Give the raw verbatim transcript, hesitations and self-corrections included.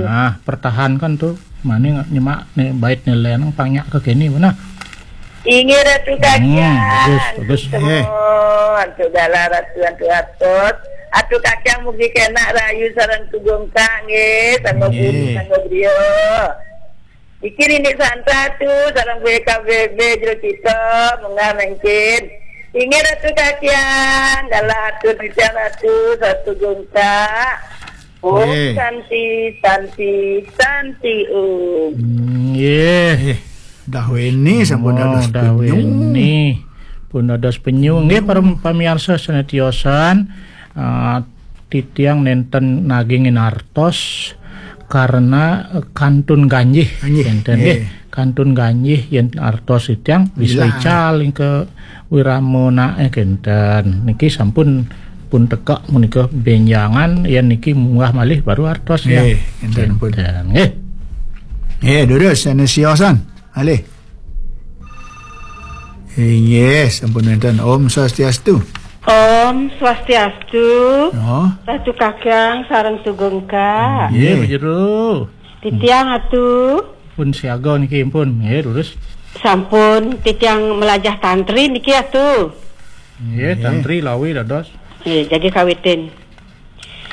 Nah, pertahankan tuh. Mani nyemak nih bait nih, Len, pang nyak ke kini, mana? Inggih Ratu Kakiang. Hmm, bagus, bagus. Semua, Ratu Dala, Ratu, Ratu Atos. Ratu Kakiang mugi kenak rahayu sareng Tugung Kak, nggih, sangga buri, sangga brio. Iki Rindik Santa tu, sareng B K B B Jero Cito, munggah mangkin. Inggih Ratu Kakiang, Dala atur titiang Ratu, sareng Tugung Kak. Om Santi, Santi, Santi Om. Nggih. Dah weni sampun dados penyu. Dah weni pun dados penyu. Nggih, para pamiarsa sané tiosan, eh, titiang nénten nagingin artos karena, eh, kantun ganjih. Ganjih. Nénten, nggih. Nggih. Kantun ganjih yén artos titiang bisa ical ing ke wirama naé kénten. Niki sampun pun tekek menika bénjangan, yén niki munggah malih baru artos ya. Nggih, kénten pun. Kénten, nggih. Nggih, durus sané siosan. Malih. Inggih, sampun wénten. Om Swastiastu. Om Swastiastu. Oh. Ratu Kakiang sareng Tugung Kak. Nggih, nggih. Jero. Titiang atu. Pun siaga niki pun, nggih, durus. Sampun titiang melajah tantri niki atu. Nggih, nggih. Tantri lawi dados. Nggih, jagi kawitin.